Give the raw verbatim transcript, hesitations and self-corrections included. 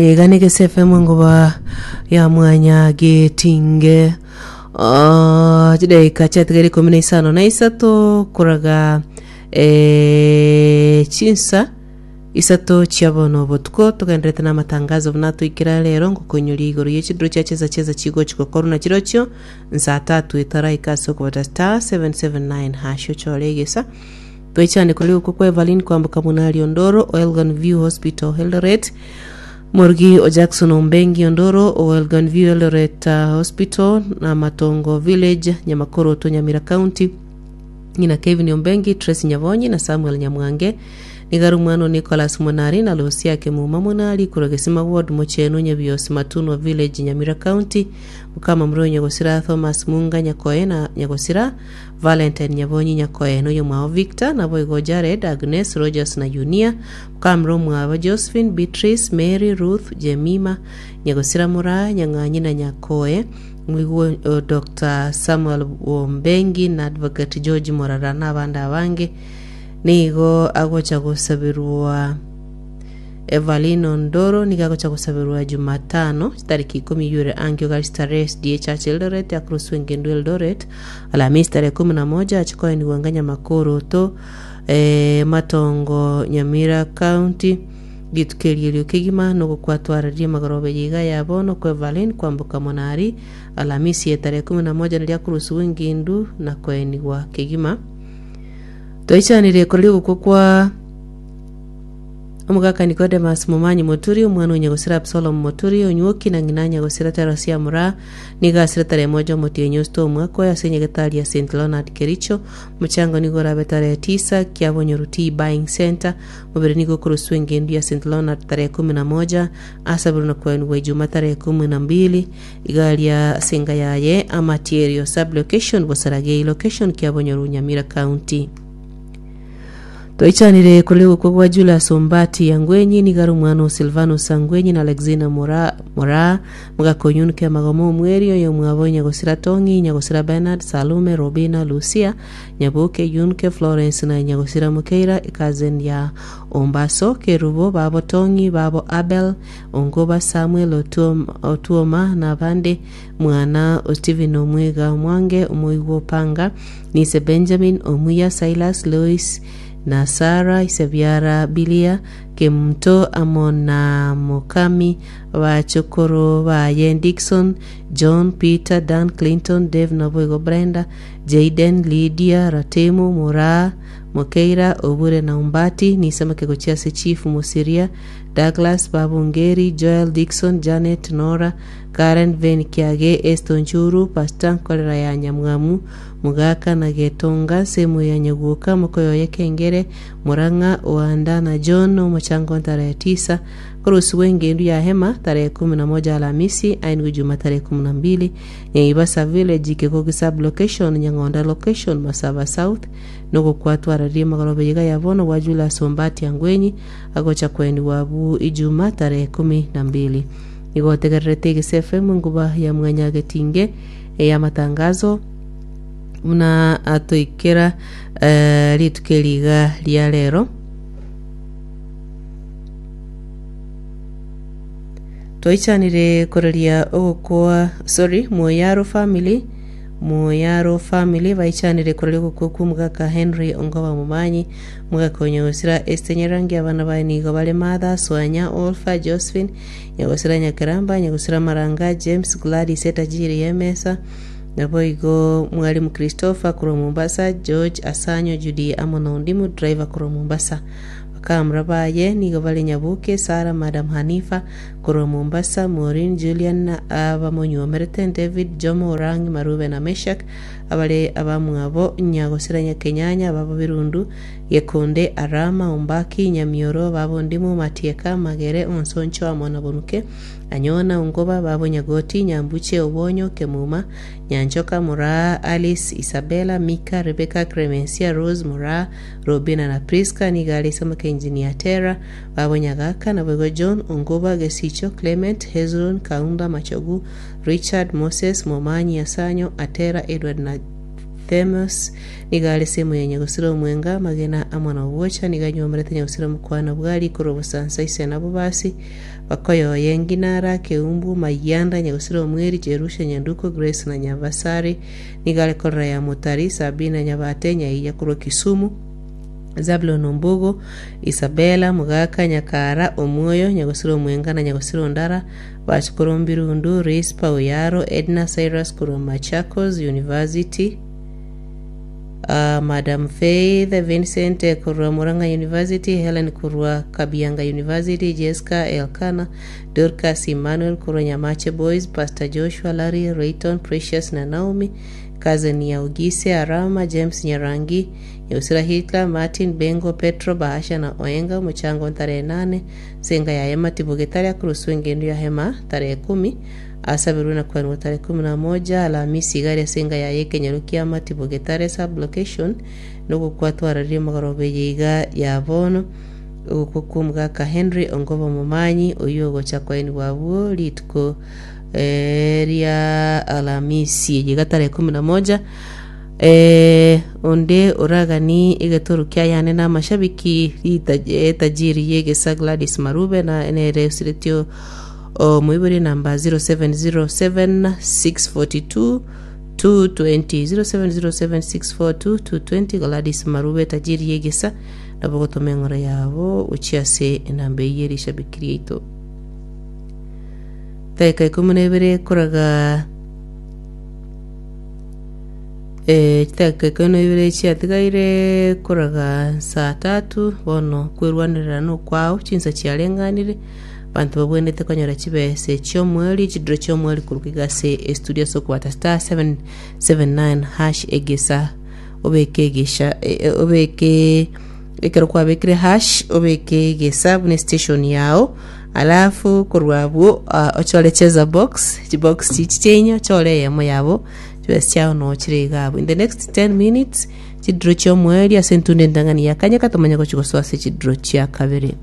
Iga na Egese F M ngoba ya mwanya getinge. Ah, chidaika chiatigaire ikomi na isano na isato koraga eh, chinsa isato chia bono botuko. Togenderete na amatangazo buna toikera rero ngokonyoria igoro ye chiduro chia chesa chesa chigochi gokorwa na chirochio nsaa tatu etaraika ase okobata star seven seven nine hash ochore egesa. Twaichane kore gokwa kwa Evelyn Kwamboka Munari Ondoro o Elgon View Hospital Eldoret, Morugi o Jackson Ombengi Ondoro o Elgon View Eldoret uh, Hospital na Matongo Village, Nyamakoroto, Nyamira County, ng'ina Kevin Ombengi, Tracy Nyabonyi na Samuel Nyamwange. Nigaru mwana Nicholas Munari na Lucia Kemuma Munari korwa Gesima Ward, Mochenu Nyabiosi, Matunwa Village, Nyamira County, mukama Muronyo Gosira Thomas Munga Nyakoe na Nyagosira Valentine Nyabonyi Nyakoe noyo mwao Victor naboigo Jared, Agnes, Rogers na Junia, mukamuro mwabo Josephine, Beatrice, Mary, Ruth, Jemima, Nyagosira Mura Nyang'anyi na Nyakoe, mwigwo uh, Doctor Samuel Wombengi na Advocate George Morara na abandi abange. Nigo agocha gosabirwa Evelyn Ondoro, nigo agocha gosabirwa Jumatano tariki ikumi yure angio Gari S D A Church Eldoret, akruswe ngendo Eldoret Alhamisi tarehe kumi na moja, achikoeniwa nganya Makoroto eh, Matongo, Nyamira County. Gitukerierio kegima nogokwatwararia magorobe yiga ya bono kwa Evelyn Kwamboka Monari Alhamisi ya tarehe kumi na moja naria akurusiwa engindu na koenigwa kegima. Twaichanire koria gokwo kwa omogaka Nicodemus Momanyi Moturi, omwana onyagosira Absalom Moturi Onywoki na ng'ina nyagosira Terosia Mura. Nigo asire tarehe moja omotienyi osito omwaka oyo ase nyagetari ya Saint Leonard Kericho. Mochango nigo orabe tarehe tisa Kiabonyoru Tea Buying Center. Mobere nigo okoroswa engendu ya Saint Leonard tarehe kumi na moja, asabirwe na kwenigwa Ijuma tarehe kumi na mbili igaria ase yaye Amatierio sub location, Bosaragei location, Kiabonyoru, Nyamira County. Twaichanire kuri gukwa gwa Julius Ombati Yangwenyi, nigari omwana o Silvanus Angwenyi na Alexina Mora Mora mugakonyunuke amagomo omweri oyo mwabo Nyagosira Tongi, Nyagosira Bernard, Salume, Robina, Lucia Nyaboke, Yunke, Florence na Nyagosira Mukeira, cousin ya Ombaso Kerubo, babo Tongi, babo Abel Ongoba, Samuel Otuoma, Otuoma na abande, mwana o Stephen Omwiga Omwange Omoigwa Opanga, nise Benjamin Omuya, Silas Louis na Sara Isebiara, Bilia Kemunto amo na Mokami, bachokoro baye Dixon, John, Peter, Dan, Clinton, Dave naboigo Brenda, Jaden, Lydia, Ratemo, Mora, Mokeira, Obure na Umbati. Nisamake gochia ase Chief Musiria, Douglas Babungeri, Joel, Dixon, Janet, Nora, Karen, Ven Kiage, Eston Churu, Pastor Nkorera ya Nyamwamu, Mugaka na Getonga, semu ya Nyaguoka, Mokoyoye Kengere, Murang'a, Oanda na John. Omochango tarehe tisa kurusiwa engendu ya hema tarehe kumi na moja Alhamisi, aingu Juma tarehe kumi na mbili Nyaibasa Village, Kekogi sub location, Nyang'onda location, Masaba South. Nogokwatwararia magorobe yiga ya bono gwa Julius Ombati Angwenyi, agocha kweni wabu Ijuma tarehe kumi na mbili. Igotegererete Egese F M nguba ya mwanyagetinge ya matangazo buna atoikera eh, rituko eriga ria rero. Twaichanire koreria ogokoa, sorry, Moyaro family, Moyaro family baichanire koreria ogokwa kwa omogaka Henry Ongoba Momanyi, omogaka onyagosira Esther Nyarangi. Abana baye nigo bare Martha, Swanya, Olfa, Josephine, nyagosira Nyakeramba, nyagosira Maranga, James, Gladys etajiri ya emesa, naboigo mwalimu Christopher korwa Mombasa, George Asanyo, Judy amo na Ondimu driver korwa Mombasa. Bakamura baye nigo bare Nyabuke, Sara, Madam Hanifa korwa Mombasa, Maureen, Julian abamonyuomerete, David, Jomo, Orang, Marube na Meshak, abare abamwabo Nyagosira Nyakenyanya, babo Birundu, Gekonde, Arama, Ombaki, Nyamioro, babo Ndimu, Matieka, Magere, Onsoncho amo na Bonuke, Anyona, Ongoba, babo Nyagoti, Nyambuche, Obonyo, Kemuma, Nyanchoka, Muraa, Alice, Isabella, Mika, Rebecca, Clemencia, Rose, Muraa, Robina na Priska. Nigari Samake, Engineer Tera, babo Nyagaka, naboigo John Ongoba, Gesicho, Clement, Hezron, Kaunda, Machogu, Richard, Moses, Momanyi, Asanyo, Atera, Edward na Barthemos nigo are semo ya Nyagusira Omwenga Magena amo na Obwocha nigo anywomerete Nyagusira Mokwana Bwari korwa Bosansa ise nabo basi Bakoyoye Nginara Keumbu Mayanda Nyagusira Omweri Jerusha Nyanduko Grace na Nyabasari nigo are korera ya Motari Sabina Nyabate Nyaiya korwa Kisumu Zabulon Ombugo, Isabella, Mugaka, Nyakara, Omwoyo, Nyagosira Omwenga na Nyagosira Ondara, Bachukuru Mbirundu, Rispa Oyaro, Edna Cyrus korwa Machakos University, uh, Madam Faith Vincent korwa Murang'a University, Helen korwa Kabianga University, Jessica Elkana, Dorcas Emmanuel korwa Nyamache Boys, Pastor Joshua Larry Rayton, Precious na Naomi, Cousin ya Ugise Arama, James Nyarangi, Nyagusira Hitler, Martin Bengo, Petro Bahasha na Oenga, omochango tarehe nane, senga ya Hema Tibugetari akurusu engendo ya Hema tarehe kumi, asabirwe na kwanwa tarehe kumi na moja Alhamisi igari senga ya yekenyero kia Matibugetare sublocation nogokwatwararie omogoroba iga ya bono ogokwa kwa omogaka Henry Ongobo Momanyi oyo ogocha kwaenigwa abwo rituko eh, ria Alhamisi eye iga tarehe kumi na moja eh, onde oragani egetoro kia yane na amashabiki rita- etajiri yegesa Gladys Marube na nere osiretio omoibori namba zero seven zero seven six forty two two twenty zero seven zero seven six four two two twenty Gladys Marube tajiri yegesa nabo gotoma eng'oro yabo ochia ase enamba eywo erishabiki riaito dakika ikomi na ibere koraga eh, chidakika ikomi na ibere chiatigaire koraga saa tatu bono kwerwanerera nokwao chinsa chiareng'anire banto babwenerete konyora chibese chiomweri chidiro chiomweri koruka iga ase estudio ase okobata star seven seven nine hash egesa obeke egesha e- e- obeke ekero kwabekire hash obeke egesa buna estation yao alafu korwa abwo ah, ochore cheza box chibox chichi chiainye ochore eyemo yabo chibesa chiao nochire iga abwo in the next ten minutes chidiro chiomweri ase entunde entang'ani ya kanyeka tomanye gochi gosoa ase chidiro chia kabere.